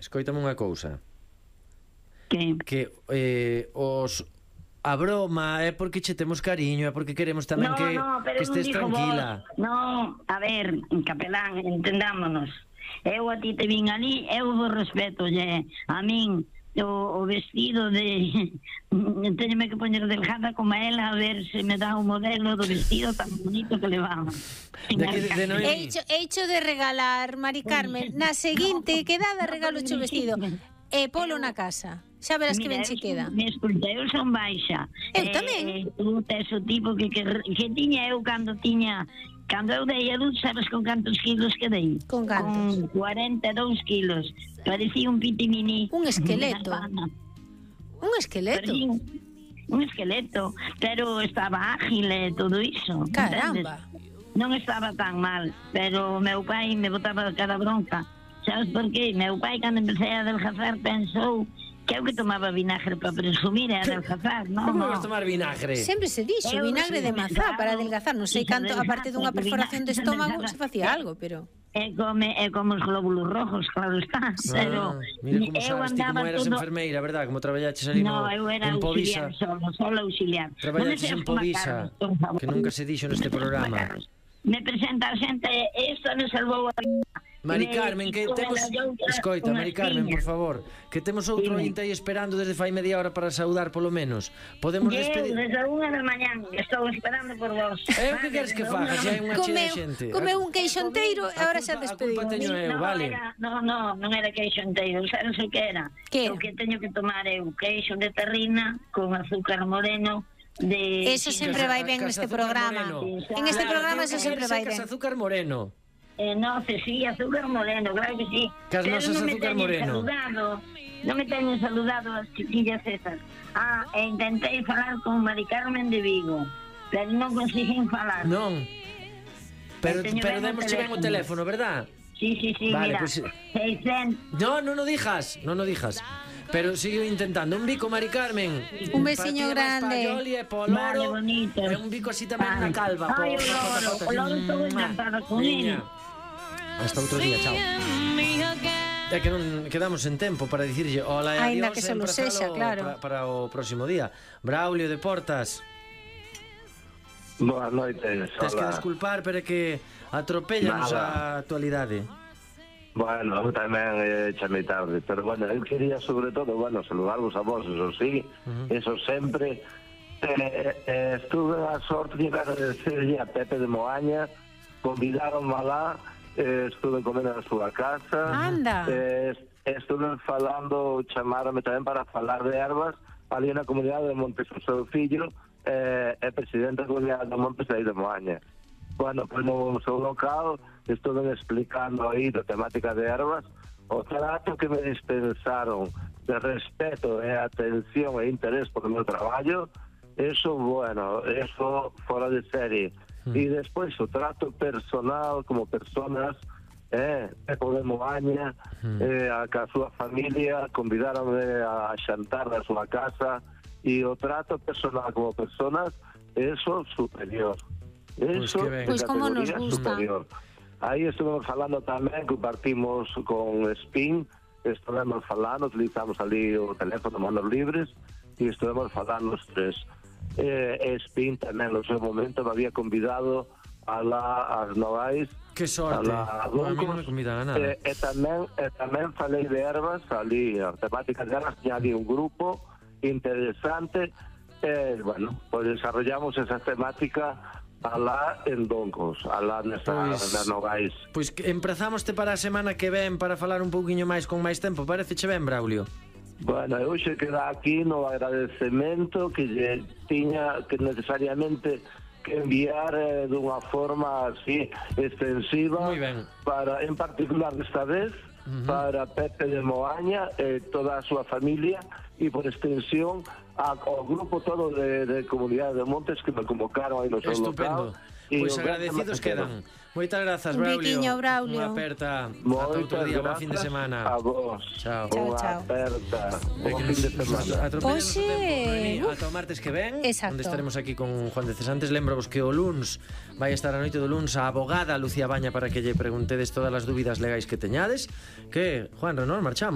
escoítame unha cousa. Que a broma é porque che temos cariño, é porque queremos tamén que estés tranquila. No, a ver, capelán, entendámonos. Eu a ti te vin ali, eu vos respeto, a min o vestido de teñome que poñer delgada como ela, a ver se me dá un modelo do vestido tan bonito que levaba. Hecho de regalar, Mari Carmen, na seguinte quedada regalo o vestido e polo na casa. Xa verás que ben che queda. Escuta, eu son baixa. Eu tamén. Tu tes o tipo que tiña eu cando eu dei a luz, sabes con cantos kilos que dei? Con cantos? Con 42 kilos. Parecía un pitimini. Un esqueleto. Un esqueleto? Un esqueleto, pero estaba ágil e todo iso. Caramba. Non estaba tan mal, pero meu pai me botaba cada bronca. Sabes por qué? Meu pai, cando empecé a adelgazar, pensou que eu que tomaba vinagre para presumir e adelgazar, non? Como vas tomar vinagre? Sempre se dixo, vinagre de mazá para adelgazar. Non sei canto, aparte dunha perforación de estómago, se facía algo, pero... É como os glóbulos rojos, claro está. Pero mira como sabes ti como eras enfermeira, verdad? Como traballaches ali en Povisa. Solo auxiliar. Traballaches en Povisa, que nunca se dixo neste programa. Me presenta a xente, isto nos salvou a vida. Mari Carmen, que temos... Escoita, Mari Carmen, por favor, que temos outro ointe aí esperando desde fai media hora para saudar polo menos. Podemos despedir... Desde a 1 da mañán, estou esperando por vos. O que queres que faga? Se hai unha chea de xente. Comeu un queixo enteiro e agora xa despedimos. A culpa teño eu, vale? Non era queixo enteiro, non sei que era. O que teño que tomar eu, queixo de terrina con azúcar moreno. Eso sempre vai ben neste programa. En este programa eso sempre vai ben. Azúcar moreno. No, sí, azúcar moreno, claro que sí. Cas nosas azúcar moreno. Non me teñen saludado as chiquillas esas. Intentei falar con Mari Carmen de Vigo, pero non conseguín falar. Non. Pero demos ben o teléfono, verdad? Sí, vale, mira, pues... 600... No lo dijas. Pero sigo intentando. Un bico, Mari Carmen. Un besiño grande. Vale, bonito. E un bico así tamén na calva. Ai, o loro estou encantada con ele. Hasta outro día, chao. É que non quedamos en tempo para dicirlle hola e adiós. Ainda que solo sexa, claro. Para o próximo día. Braulio de Portas. Boas noites. Tens que desculpar, pero é que atropellanos a actualidade. Bueno, tamén chamei tarde, pero bueno, eu quería sobre todo, saludarvos a vos, eso sí, eso sempre. Estuve a sorte de agradecerlle a Pepe de Moaña, convidaronme alá, estuve comendo na súa casa. Anda. Estuve falando, chamaronme tamén para falar de ervas ali na comunidade de Montes, o seu fillo é presidente da comunidade de Montes aí de Moaña. Bueno, pues no seu local estuve explicando aí da temática de ervas, o trato que me dispensaron de respeto e atención e interés por o meu traballo, eso, bueno, eso fora de serie. E despois o trato personal como personas, Pepo de Moaña, a súa familia, convidaronme a xantar na súa casa, e o trato personal como personas, eso superior. Eso, pues como nos gusta. Superior. Aí estuvemos falando tamén, compartimos con Spin, estuvemos falando, utilizamos ali o teléfono manos libres e estuvemos falando os tres. Spin tamén no seu momento me había convidado a las Nogais. Que sorte, a mí non me convidan a nada. E tamén falei de ervas, ali a temática de ervas, tiña ali un grupo interesante, bueno, pues desarrollamos esa temática alá en Doncos, alá nesa Nogais. Pois empezamoste para a semana que ven para falar un pouquiño máis con máis tempo, pareceche ben, Braulio? Bueno, eu xe queda aquí no agradecemento que lle tiña que necesariamente que enviar dunha forma así extensiva para, en particular desta vez, para Pepe de Moaña e toda a súa familia e por extensión ao grupo todo de Comunidade de Montes que me convocaron aí no seu local. Pois agradecidos quedan. Moitas grazas, Braulio. Un biquiño, Braulio. Unha aperta. Ata outro día, buen fin de semana. A vos. Chao. Unha aperta. Buen fin de semana. Ata o martes que ven, onde estaremos aquí con Juan de Cesantes. Lembro-vos que o luns vai estar a noite do luns a abogada Lucía Baña para que lle preguntedes todas as dúbidas legais que teñades. Que, Juan, non marchamos.